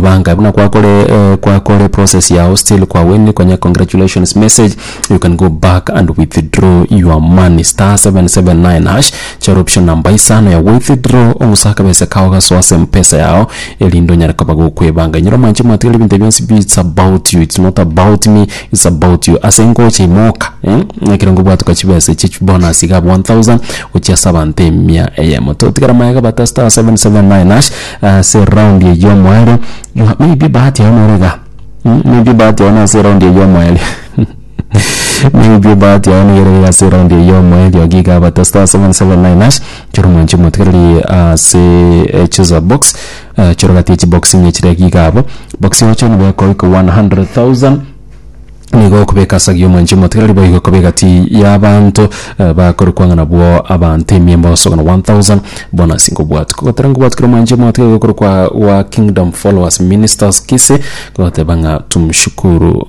Gokwebanga buna kwakore eh, kwakore process yao still kwa win konya congratulations message you can go back and withdraw your money star 779 hash chora option namba isano ya withdraw ong'usa akabesa kao gasoa ase mpesa yao erinde onyare koba gokwebanga inyora mwanche mwatigara ebinto bionsi bi it's about you it's not about me it's about you ase ngocha imoka eh, ekero ngobwatoka chibesa echi bonus iga 1000 gochia ase abanto emia eyemo totigara maega bata star 779 hash ase round eye omoerio maybe bahati yao nore iga maybe bahati yao nase round eye omoerio maybe bahati yao nigo ere iga ase round eye omoerio iga bata star 779 hash chora omwanchi omotigereri ase choose a box chora gati ya chibox inye chire iga abwo box yoche nigo ekoika 100,000 nigo okobeka ase agiya omwanchi omotigereri boigo ekoba egati y'abanto bakorokwa ng'a nabwo abanto emia mbosogana 1000 bonus nkobwati. Kogotera nkobwati kera omwanchi omotigereri gokorokwa gwa Kingdom Followers Ministers Kisii kogoteba ng'a tumshukuru.